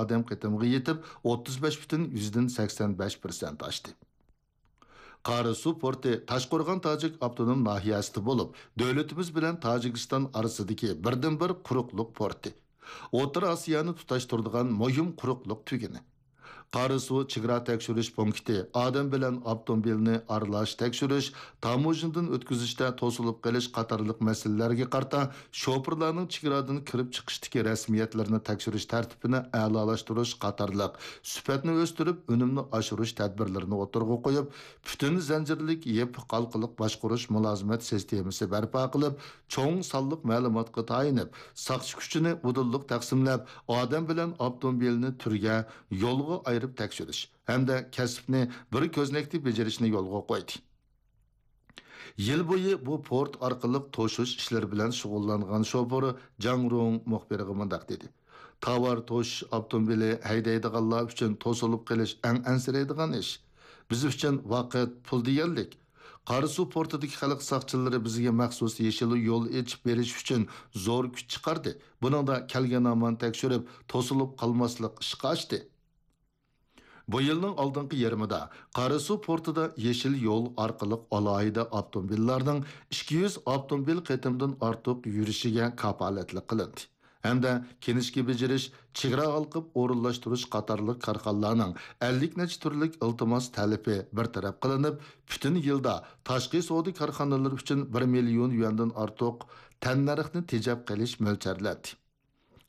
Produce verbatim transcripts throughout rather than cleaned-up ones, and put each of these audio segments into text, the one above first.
ئادەم قېتىمغا يېتىپ، ئوتتۇز بەش پۈتۈن يۈزدىن سەكسەن بەش پىرسەنت ئاشتى. قاراسۇ پورتى تاشقورغان تاجىك ئاپتونوم ناھىيەسىدە بولۇپ، دۆلىتىمىز بىلەن تاجىكىستان ئارىسىدىكى بىردىنبىر قۇرۇقلۇق پورتى. ئوتتۇرا ئاسىيانى تۇتاشتۇرىدىغان مۇھىم قۇرۇقلۇق تۈگۈنى. قاراسۇ چېگرا تەكشۈرۈش پونكىتى ئادەم بىلەن ئاپتوموبىلنى ئارىلاش تەكشۈرۈش، تاموژنىدىن ئۆتكۈزۈشتە توسۇلۇپ قېلىش قاتارلىق مەسىلىلەرگە قارىتا شوپۇرلارنىڭ چېگرادىن كىرىپ چىقىشتىكى رەسمىيەتلىرىنى تەكشۈرۈش تەرتىپىنى ئەلالاشتۇرۇش قاتارلىق سۈپەتنى ئۆستۈرۈپ، ئۈنۈمنى ئاشۇرۇش تەدبىرلىرىنى ئوتتۇرىغا قويۇپ، پۈتۈن زەنجىرلىك يېپىق ھالقىلىق باشقۇرۇش مۇلازىمەت سىستېمىسى بەرپا قىلىپ، چوڭ سانلىق مەلۇماتقا تايىنىپ، ساقچى كۈچىنى ئۇدۇللۇق تەقسىملەپ، ئادەم بىلەن ئاپتوموبىلنى تۈرگە، يولغا ئايرىپ تەكشۈرۈش ھەمدە كەسىپنى بىر كۆزنەكتە بېجىرىشنى يولغا قويدى. يىل بويى بۇ پورت ئارقىلىق توشۇش ئىشلىرى بىلەن شۇغۇللانغان شوپۇر جاڭ رۇڭ مۇخبىرغا مۇنداق دېدى: «تاۋار توشۇش ئاپتوموبىلى ھەيدەيدىغانلار ئۈچۈن توسۇلۇپ قېلىش ئەڭ ئەنسىرەيدىغان ئىش. بىز ئۈچۈن ۋاقىت، پۇل دېگەنلىك. قاراسۇ پورتىدىكى خەلق ساقچىلىرى بىزگە مەخسۇس يېشىل يول ئېچىپ بېرىش ئۈچۈن زور كۈچ چىقاردى. بۇنىڭدا كەلگەن ھامان تەكشۈرۈپ، توسۇلۇپ قالماسلىق ئىشقا ئاشتى.» بۇ يىلنىڭ ئالدىنقى يېرىمىدا قاراسۇ پورتىدا يېشىل يول ئارقىلىق ئالاھىدە ئاپتوموبىللارنىڭ ئىككى يۈز ئاپتوموبىل قېتىمدىن ئارتۇق يۈرۈشىگە كاپالەتلىك قىلىندى ھەمدە كىنىشكا بېجىرىش، چېگرا ھالقىپ ئورۇنلاشتۇرۇش قاتارلىق كارخانىلارنىڭ ئەللىك نەچچە تۈرلۈك ئىلتىماس تەلىپى بىر تەرەپ قىلىنىپ، پۈتۈن يىلدا تاشقى سودا كارخانىلىرى ئۈچۈن بىر مىليون يۈەندىن ئارتۇق تەننەرخنى تېجەپ قېلىش مۆلچەرلەندى.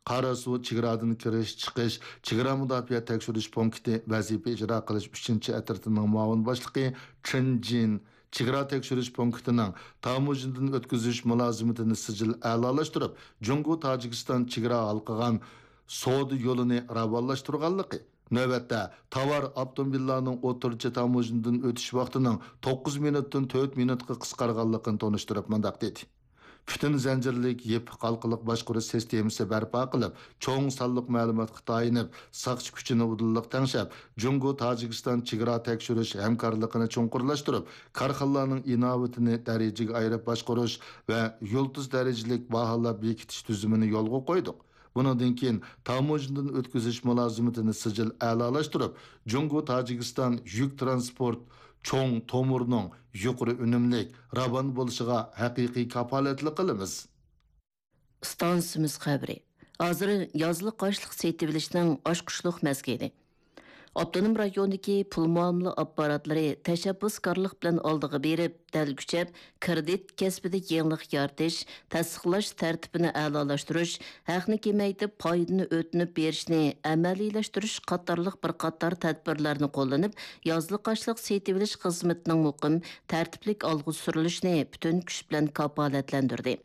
قاراسۇ چېگرادىن كىرىش، چىقىش، چېگرا مۇداپىئە تەكشۈرۈش پونكىتى ۋەزىپە ئىجرا قىلىش ئۈچىنچى ئەترىتىنىڭ مۇئاۋىن باشلىقى چېن جىن چېگرا تەكشۈرۈش پونكىتىنىڭ تاموژنىدىن ئۆتكۈزۈش مۇلازىمىتىنى سىجىل ئەلالاشتۇرۇپ، جۇڭگو تاجىكىستان چېگرا ھالقىغان سودا يولىنى راۋانلاشتۇرغانلىقى، نۆۋەتتە تاۋار ئاپتوموبىللارنىڭ ئوتتۇرىچە تاموژنىدىن ئۆتۈش ۋاقتىنىڭ توققۇز مىنۇتتىن تۆت مىنۇتقا قىسقارغانلىقىنى تونۇشتۇرۇپ مۇنداق دېدى. پۈتۈن زەنجىرلىك يېپىق ھالقىلىق باشقۇرۇش سىستېمىسى بەرپا قىلىپ، چوڭ سانلىق مەلۇماتقا تايىنىپ، ساقچى كۈچىنى ئۇدۇللۇق تەڭشەپ، جۇڭگو تاجىكىستان چېگرا تەكشۈرۈش ھەمكارلىقىنى چوڭقۇرلاشتۇرۇپ، كارخانىلارنىڭ ئىناۋىتىنى دەرىجىگە ئايرىپ باشقۇرۇش ۋە يۇلتۇز دەرىجىلىك باھالاپ بېكىتىش تۈزۈمىنى يولغا قويدۇق. بۇنىڭدىن كېيىن تاموژنىدىن ئۆتكۈزۈش مۇلازىمىتىنى سىجىل ئەلالاشتۇرۇپ، جۇڭگو تاجىكىستان يۈك تىرانسپورت چوڭ تومۇرنىڭ يۇقىرى ئۈنۈملۈك، راۋان بولۇشىغا ھەقىقىي كاپالەتلىك قىلىمىز. ئىستانسىمىز خەۋىرى. ھازىر يازلىق ئاشلىق سېتىۋېلىشنىڭ ئاچقۇچلۇق مەزگىلى. ئاپتونوم رايوندىكى پۇل مۇئامىلە ئاپپاراتلىرى تەشەببۇسكارلىق بىلەن ئالدىغا بېرىپ، دەل كۈچەپ، كىرېدىت كەسپىدە يېڭىلىق يارىتىش، تەستىقلاش تەرتىپىنى ئەلالاشتۇرۇش، ھەقنى كېمەيتىپ، پايدىنى ئۆتۈنۈپ بېرىشنى ئەمەلىيلەشتۈرۈش قاتارلىق بىر قاتار تەدبىرلەرنى قوللىنىپ، يازلىق ئاشلىق سېتىۋېلىش خىزمىتىنىڭ مۇقىم، تەرتىپلىك ئالغا سۈرۈلۈشىنى پۈتۈن كۈچ بىلەن كاپالەتلەندۈردى.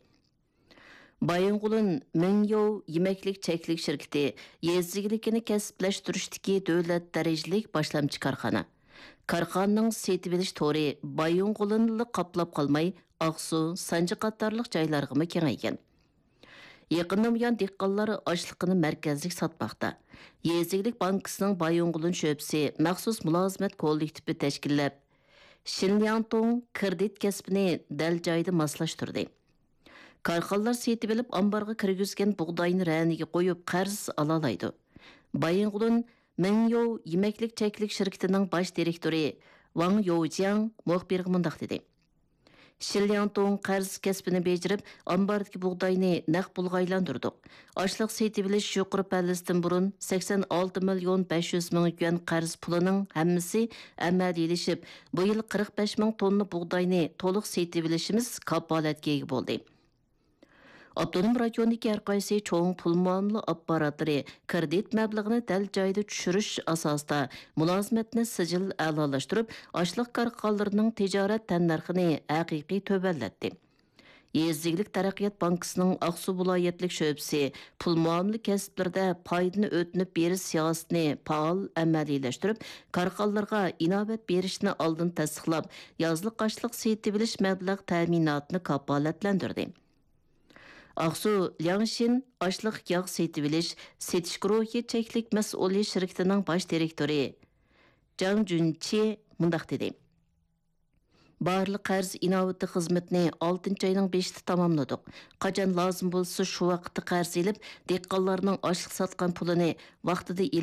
بايىنغولىن مىڭيوۋ يېمەكلىك چەكلىك شىركىتى يېزا ئىگىلىكىنى كەسىپلەشتۈرۈشتىكى دۆلەت دەرىجىلىك باشلامچى كارخانا. كارخانىنىڭ سېتىۋېلىش تورى بايىنغولىنلا قاپلاپ قالماي، ئاقسۇ، سانجى قاتارلىق جايلارغىمۇ كېڭەيگەن. يېقىندىن بۇيان دېھقانلار ئاشلىقىنى مەركەزلىك ساتماقتا. يېزا ئىگىلىك بانكىسىنىڭ بايىنغولىن شۆبىسى مەخسۇس مۇلازىمەت كوللېكتىپى تەشكىللەپ، شىنلياڭتۇڭ كىرېدىت كەسپىنى دەل جايىدا ماسلاشتۇردى. كارخانىلار سېتىۋېلىپ، ئامبارغا كىرگۈزگەن بۇغداينى رەنىگە قويۇپ، قەرز ئالالايدۇ. بايىنغولىن مىڭيوۋ يېمەكلىك چەكلىك شىركىتىنىڭ باش دىرېكتورى ۋاڭ يوجياڭ مۇخبىرغا مۇنداق دېدى: شىنلياڭتۇڭ قەرز كەسپىنى بېجىرىپ، ئامباردىكى بۇغداينى نەق پۇلغا ئايلاندۇردۇق. ئاشلىق سېتىۋېلىش يۇقىرى پەللىسىدىن بۇرۇن سەكسەن ئالتە مىليون بەش يۈز مىڭ يۈەن قەرز پۇلىنىڭ ھەممىسى ئەمەلىيلىشىپ، بۇ يىل قىرىق بەش مىڭ توننا بۇغداينى تولۇق سېتىۋېلىشىمىز كاپالەتكە ئىگە بولدى. ئاپتونوم رايوندىكى ھەر قايسى چوڭ پۇل مۇئامىلە ئاپپاراتلىرى كىرېدىت مەبلىغىنى دەل جايىدا چۈشۈرۈش ئاساسىدا مۇلازىمەتنى سىجىل ئەلالاشتۇرۇپ، ئاشلىق كارخانىلىرىنىڭ تىجارەت تەننەرخىنى ھەقىقىي تۆۋەنلەتتى. يېزا ئىگىلىك تەرەققىيات بانكىسىنىڭ ئاقسۇ ۋىلايەتلىك شۆبىسى پۇل مۇئامىلە كەسىپلىرىدە پايدىنى ئۆتۈنۈپ بېرىش سىياسىتىنى پائال ئەمەلىيلەشتۈرۈپ، كارخانىلارغا ئىناۋەت بېرىشنى ئالدىن تەستىقلاپ، يازلىق ئاشلىق سېتىۋېلىش مەبلەغ تەمىناتىنى كاپالەتلەندۈردى. ئاقسۇ لياڭشىن ئاشلىق ياغ سېتىۋېلىش، سېتىش گۇرۇھى چەكلىك مەسئۇلىيەت شىركىتىنىڭ باش دىرېكتورى جاڭ جۈنچى مۇنداق دېدى: بارلىق قەرز ئىناۋىتى خىزمىتىنى ئالتىنچى ئاينىڭ بېشىدا تاماملىدۇق. قاچان لازىم بولسا، شۇ ۋاقىتتا قەرز ئېلىپ، دېھقانلارنىڭ ئاشلىق ساتقان پۇلىنى ۋاقتىدا ئېلىپ،